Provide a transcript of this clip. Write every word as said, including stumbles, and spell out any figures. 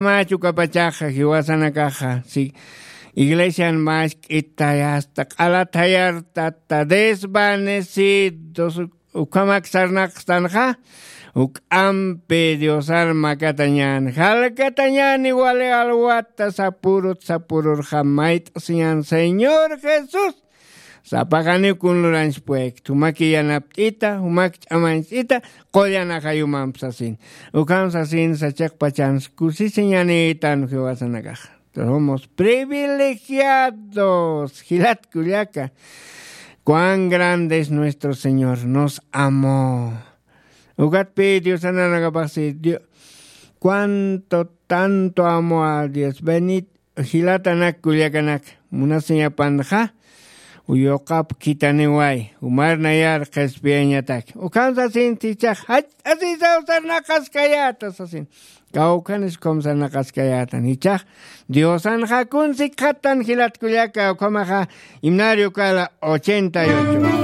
Machu kapachaxa jiwasanakaxa si iglesian mask'itayasta q'alathayartata desvanecidos ukhamak sarnaqstanxa, uk'ampi diosar makatañan jalkatañani wali alwata sapurut sapururxa mayt'siñan señor jesús. Sapaxaniw kun luranchpuekta jumaki yanapt'ita jumak ch'amañcht'ita, qullan ajayumamp sasin. Ukham sasin sachiqpachans kusisiñanitan jiwasanakaxa. Somos privilegiados jilatkullaka. Cuán grande es nuestro señor, nos amó. Ukatpi diosananakapaxsi, cuánto tanto amó a dios benit. Jilatanak kullakanak munasiñapanxa, uyuqap khitaniway umarnayar qhispiyañatak. Ukham sasinti ichax jach'asisaw sarnaqaskayäta sasin. Kawkhanis ukham sarnaqaskayätan ichax, diosanxa kunsikxatan jilatkullaka ukhamaxa. Himnario kala ochenta y ocho.